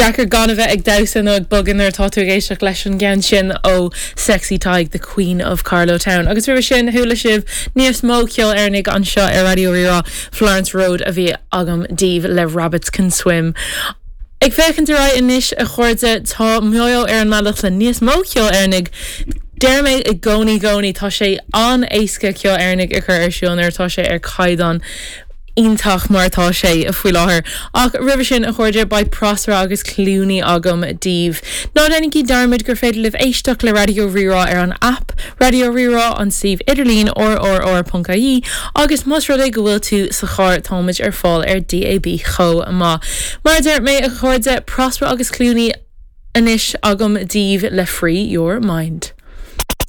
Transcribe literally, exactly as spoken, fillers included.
Deacair gan a bheith ag damhsa nó ag bogadh nuair atá tú ag éisteacht leis an gceann sin ó Sexy Tadhg, the Queen of Carlow Town. Agus roimhe sin chuala sibh níos mó ceol Éireannaigh anseo ar Raidió Rí-Rá Florence Road a bhí agam daoibh le Rabbits Can Swim. Ag féachaint ar aghaidh anois a chairde tá Mayo ar an mbealach le níos mó ceol Éireannaigh. Deir mé i gcónaí gcónaí tá sé an-éasca ceol Éireannaigh a chur ar siúl nuair atá sé ar caighdeán iontach mar atá sé faoi láthair. Ach roimhe sin a chairde beidh Prosper agus Clooney agam daoibh. Ná déanaigí dearmad gur féidir libh éisteacht le Raidió Rí-Rá ar an app Raidió Rí-Rá an suíomh idirlín rrr.ie agus más rud é go bhfuil tú sa charr táimid ar fáil ar DAB chomh maith. Mar deir mé a chairde Prosper agus Clooney anois agam daoibh le Free Your Mind.